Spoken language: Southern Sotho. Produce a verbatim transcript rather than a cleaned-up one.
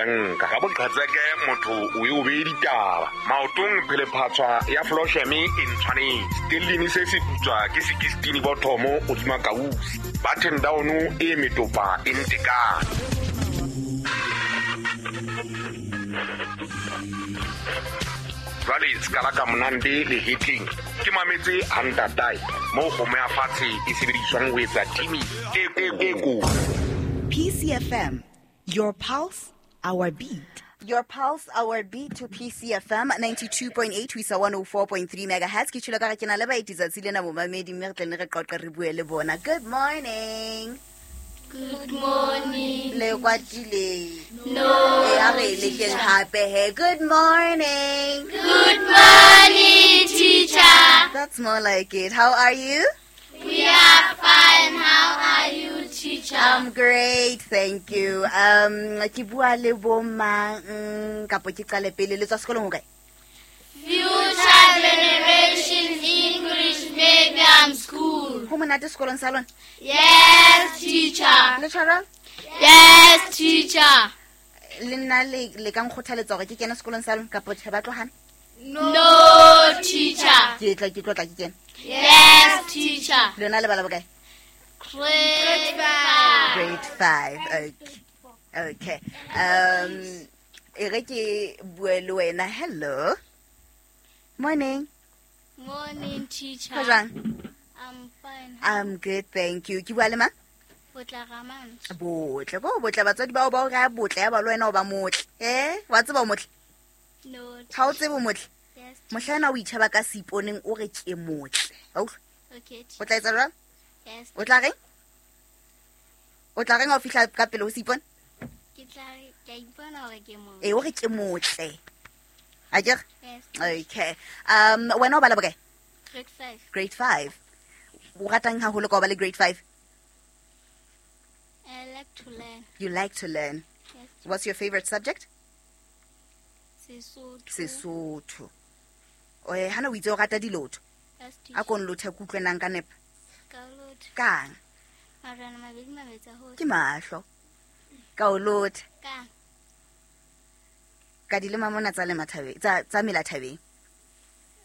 Banka ka boqhetseke motho o e o bee ditaba maotong phelephatshwa ya flosheme e ntshwanetse stellini se se putswa ke sekistini bothomo hodima kausi button down e metopa e ntekane. Jwale ska la ka monande le hetleng ke mametse hantatai mo kgomo ya fatshe e sebediswang ho etsa timi e e ko. P C F M, your pulse, our beat. Your pulse, our beat to P C F M ninety-two point eight, we saw one oh four point three megahertz. Ke tshilo ka re ke na le baeti tsatsi lena momamedi mme re tle ne re qoqe re bue le bona. Good morning. Good morning. Le kwatile. No. E a re le keng hape he. Good morning. Good morning, teacher. That's more like it. How are you? We are fine. How are you, teacher? I'm great, thank you. Um, ke bua le bo mang kapo ke qale pele le tswa sekolong ho kae? Future Generation English Medium School. Ho monate sekolong sa lona? Yes, teacher. Le tshwara? Yes, teacher. Le nna le le ka nkgothaletsa hore ke kene sekolong sa lona kapo tjhe ba tlohana? No, teacher. Ke tla ke tlotla ke kene. Yes, teacher. Le lona le bala bokae? Grade five. Grade five. Okay. Okay. Um, e re ke bue le wena. Hello. Morning. Morning, teacher. Ho jwang? I'm fine. I'm good, thank you. Ke bua le mang? Botle Ramantsho. Botle, bo botle batswadi bao ba o raya botle ya ba le wena o ba motle. Eh, wa tseba o motle? No. Ha o tsebe o motle? Yes. Mohlana o itjheba ka seiponeng o re ke motle. Wa utlwa? Okay. O tla etsa jwang? Yes. O tla reng? O tla reng ha o fihla ka pele ho seipone? Ke tla ke ipona hore ke motle. Eh, o re ke motle. Akere? Yes. Okay. Um, wena o bala bokae? Grade five. Grade five. O ratang haholo ka o ba le grade five? I like to learn. You like to learn? Yes. What's your favorite subject? Sesotho. Sesotho. Oe, hana o itse o rata dilotho? Yes, teacher. A ko nlothe ke utlwe nang ka nepa. Ka o lotha. Kang? Marwana mabedi mabetsa hohle. Ke mahlo. Ka o lotha. Kang? Ka dilema mona tsa le mathabeng, tsa tsa mela thabeng.